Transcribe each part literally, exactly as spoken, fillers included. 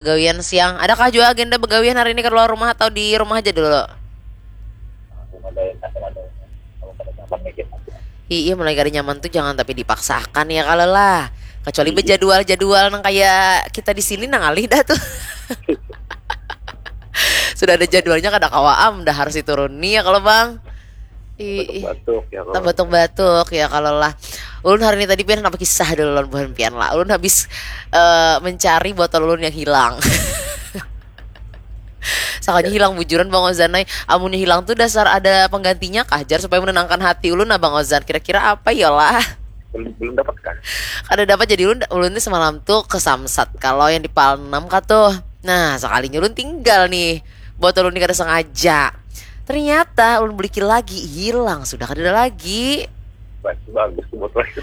Gawian siang. Adakah jua agenda begawian hari ini keluar rumah atau di rumah aja dulu? Iya, mulai kada nyaman tuh jangan tapi dipaksakan ya kalau lah. Kecuali berjadwal-jadwal nang kayak kita di sini nang alih dah tuh. Sudah ada jadwalnya kada kawa am dah harus dituruni ya kalau bang. Ih, batuk-batuk ya kalau. Batuk-batuk ya kalau lah. Ulun hari ini tadi pian apa kisah dulu lawan buhan pian lah. Ulun habis uh, mencari botol ulun yang hilang. Sakanya hilang bujuran Bang Ozan ai. Amunnya hilang tuh dasar ada penggantinya kah jar supaya menenangkan hati ulun nah Bang Ozan. Kira-kira apa ya lah? Belum belum dapat kan? Kada dapat jadi ulun ulun nih semalam tuh ke Samsat kalau yang di Palnam kah tuh. Nah, sekalinya ulun tinggal nih. Botol ulun ini kada sengaja. Ternyata ulun beli lagi hilang sudah kada ada lagi. Bagus tuh botol itu.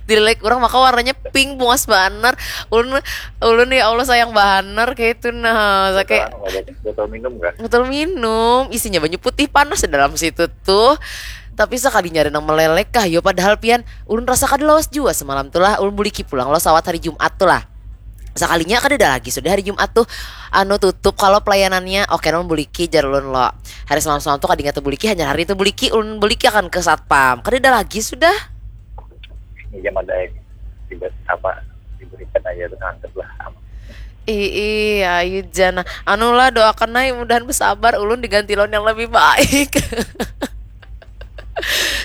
Dilek orang maka warnanya pink bungas banar. Ulun ulun ya Allah sayang banar kayak itu nah. Sakit. Botol minum kan? Botol minum isinya banyu putih panas di dalam situ tuh. Tapi sekalinya ada yang melelek kah yo padahal pian ulun rasa kada lawas jua semalam tuh lah ulun buliki pulang lo sawat hari Jumat tuh lah. Sakalinya kada ada lagi sudah hari Jumat tuh anu tutup kalau pelayanannya oke non buliki jar ulun lo. Hari semalam semalam tuh kada ingat buliki hanya hari itu buliki ulun buliki akan ke satpam kada ada lagi sudah. Ini jam ada tiba apa diberikan aja tuh ngantuk lah. Ih, ih, ayu jana. Anu lah doakan naik mudahan bersabar ulun diganti lawan yang lebih baik.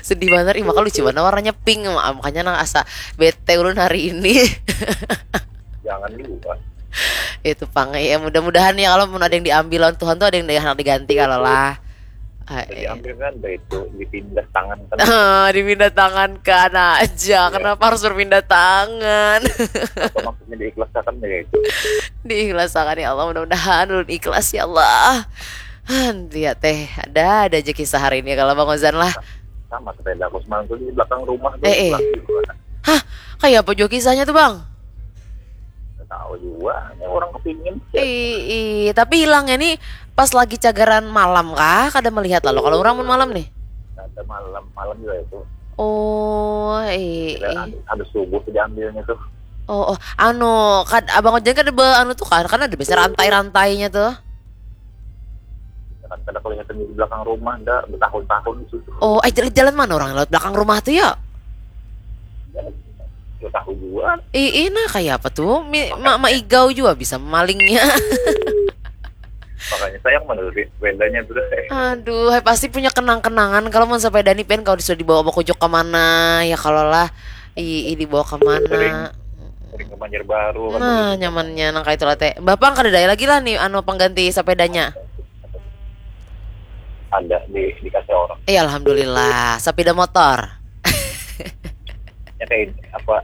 Sedih banget ih maka lucu banget warnanya pink makanya nang asa bete ulun hari ini. Jangan lupa. Itu pang ya mudah-mudahan ya kalau pun ada yang diambil lawan Tuhan tuh ada yang hendak diganti kalau lah. Diambil kan itu dipindah tangan kan. Dipindah tangan kan aja. Iya. Kenapa harus berpindah tangan? Apa maksudnya diikhlaskan ya itu? Diikhlaskan ya Allah mudah-mudahan ulun ikhlas ya Allah. Lihat teh ada ada aja kisah hari ini kalau Bang Ozan lah. Sama sepeda aku semalam tuh di belakang rumah tuh. Eh, eh. Hah, kayak apa juga kisahnya tuh Bang? Tahu juga, ini orang kepingin. Ih, tapi hilangnya nih pas lagi cagaran malam kah? Kada melihat lalu kalau orang pun malam nih. Ada malam, malam juga itu. Oh, iya. Habis subuh diambilnya tuh. Oh, oh. Anu, kad, abang ojek kan ada anu tuh kan, kan ada biasa rantai-rantainya tuh. Kan kada kelihatan di belakang rumah dah bertahun-tahun di situ. Oh, eh jalan-jalan mana orang lewat belakang rumah tuh ya? Ya tahu juga. Ih, nah kayak apa tuh? Mi, ma, ma igau juga bisa malingnya. Makanya sayang menurut bedanya tuh deh. Aduh, hai, pasti punya kenang-kenangan kalau mau sepeda nih pen kalau sudah dibawa bakujuk kemana ya kalau lah i, i dibawa kemana. Sering, sering ke Banjarbaru. Nah, nyamannya nang kayak itu lah teh. Bapak kada ada lagi lah nih anu pengganti sepedanya. Ada di dikasih orang. Iya alhamdulillah, sepeda motor. Ya kayak ini, apa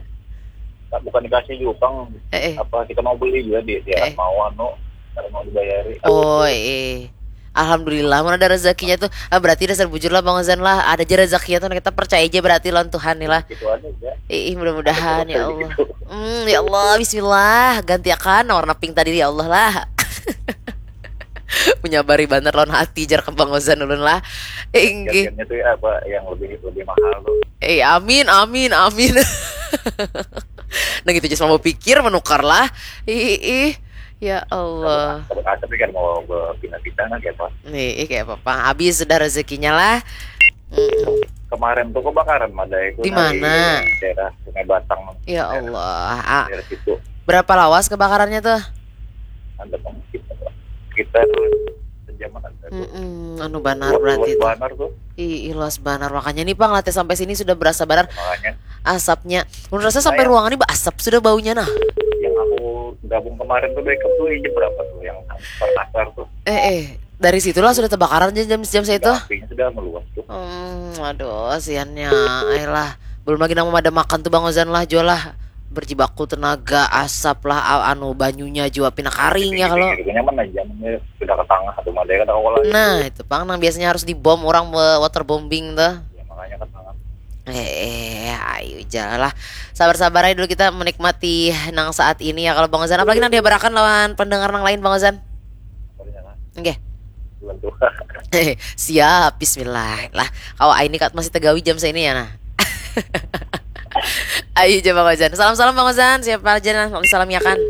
bukan dikasih juga utang eh, eh. Apa kita mau beli juga di dia eh. Mau anu karena mau dibayari. Oh eh. Alhamdulillah mana ada rezekinya tuh ah, berarti dasar bujur lah Bang Ozan lah ada aja rezekinya tuh kita percaya aja berarti lawan Tuhan nih lah. Gitu aja ya. Ih mudah-mudahan ya Allah. Hmm, ya Allah bismillah gantiakan warna pink tadi ya Allah lah. Menyabari banget lawan hati jar kembang ozan ulun lah. Eh, inggih. Jajannya tuh ya apa yang lebih lebih mahal tuh. Eh, amin, amin, amin. Nah gitu aja mau pikir menukar lah. Ih, ih, ya Allah. Tapi kan mau pindah-pindah kan ya Pak. Nih, ih, kayak apa Habis sudah rezekinya lah. Mm-mm. Kemarin tuh kebakaran ada itu. Di mana? Daerah Sungai Batang. Ya Allah. Ah, daerah situ. Berapa lawas kebakarannya tuh? Ada pang sekitar sekitar sejaman ada tuh. Mm-mm, anu banar berarti itu. Banar tuh. Ih, luas banar makanya nih Bang latih sampai sini sudah berasa banar. Makanya asapnya. Menurut saya sampai ruangan ini asap sudah baunya nah. Yang aku gabung kemarin tuh backup tuh jam berapa tuh yang Makassar tuh. Eh eh dari situlah sudah terbakaran jam jam saya itu. Apinya sudah meluas tuh. Hmm, aduh, siannya. Ayolah. Belum lagi nang memadam makan tuh Bang Ozan lah, jual lah. Berjibaku tenaga, asap lah, anu banyunya jua pina karing ya kalau. Nyaman aja, sudah ke tengah atau mana kada kawa. Nah, itu pang nang biasanya harus dibom orang waterbombing tuh. Ya, makanya ke tengah. Eh, ayo jalan lah. Sabar-sabar aja dulu kita menikmati nang saat ini ya kalau Bang Ozan. Apalagi nang dihabarakan lawan pendengar nang lain Bang Ozan. Oke. Siap, bismillah. Lah, kau ini kat masih tegawi jam ini ya nah. Ayo coba Bang Ozan. Salam-salam Bang Ozan. Siapa aja nah? Salam ya kan.